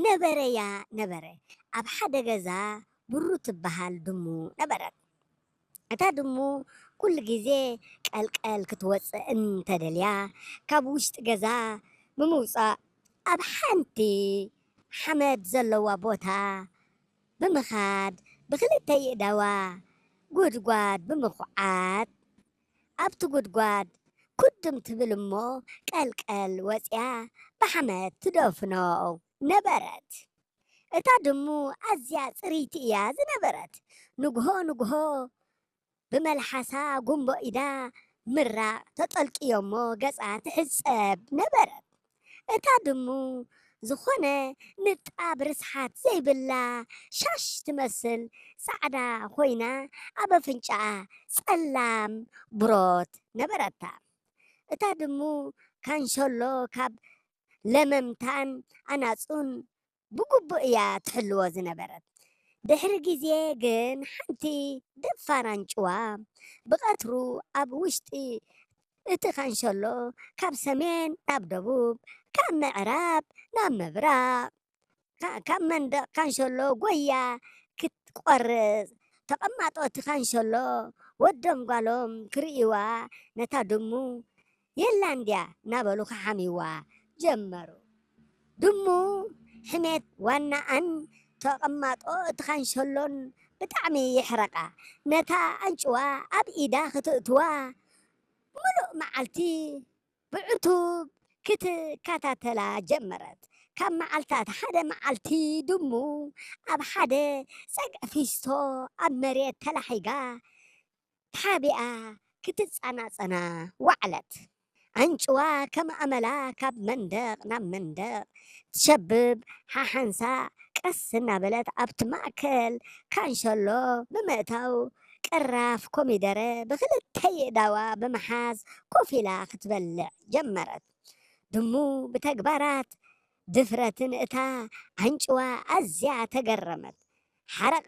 ነበረያ ነበረ። ኣብ ሓደ ገዛ ብሩ ትበሃል ድሙ ነበረት። እታ ድሙ ኩሉ ግዜ ቀልቀል ክትወጽእ እንተደልያ፣ ካብ ውሽጢ ገዛ ብምውጻእ ኣብ ሓንቲ ሓመድ ዘለዋ ቦታ ብምኻድ ብክልተ ይእዳዋ ጉድጓድ ብምኹዓት ኣብቲ ጉድጓድ ኩድም ትብል እሞ ቀልቀል ወጽያ ብሓመድ ትደፍኖ ነበረት። እታ ድሙ ኣዝያ ጽርይቲ እያ ዝነበረት። ንግሆ ንግሆ ብመልሓሳ ጉምቦ ኢዳ ምራቕ ተጠልቅዮሞ ገጻ ትሕጸብ ነበረት። እታ ድሙ ዝኾነ ንጣብ ርስሓት ዘይብላ ሻሽ ትመስል ጻዕዳ ኮይና ኣብ ኣፍንጫኣ ጸላም ብሮት ነበረታ። እታ ድሙ ካንሸሎ ካብ ለመምታን ኣናጹን ብግቡእ እያ ትሕልዎ ዝነበረት። ድሕሪ ግዜ ግን ሓንቲ ደፋር ኣንጭዋ ብቐትሩ ኣብ ውሽጢ እቲ ካንሸሎ ካብ ሰሜን ናብ ደቡብ፣ ካብ ምዕራብ ናብ ምብራቕ፣ ካ-፣ ካብ መንደቕ ካንሸሎ ጎያ ክትቆርጽ፣ ተቐማጦ እቲ ካንሸሎ ወዶም ጓሎም ክርእይዋ ነታ ድሙ የላን ድያ እናበሉ ክሓምይዋ ጀመሩ። ድሙ ሕሜት ዋናኣን ተቐማጦ እቲ ካንሸሎን ብጣዕሚ የሕረቓ። ነታ ኣንጭዋ ኣብ ኢዳ ክትእትዋ ምሉእ መዓልቲ ብዕቱብ ክትከታተላ ጀመረት። ካብ መዓልታት ሓደ መዓልቲ ድሙ ኣብ ሓደ ጸግዒ ፊስቶ ኣብ መሬት ተላሒጋ ተሓቢኣ ክትጸናጸና ወዓለት። ኣንጭዋ ከም ኣመላ ካብ መንደቕ ናብ መንደቕ ትሸብብ፣ ሓሓንሳ ቀስ እናበለት ኣብቲ ማእከል ካንሸሎ ብምእታው ቅራፍ ኮሚደረ ብክልተ የእዳዋ ብምሓዝ ኮፍ ኢላ ክትበልዕ ጀመረት። ድሙ ብተግባራት ድፍረትን እታ ኣንጭዋ ኣዝያ ተገረመት። ሓረቐ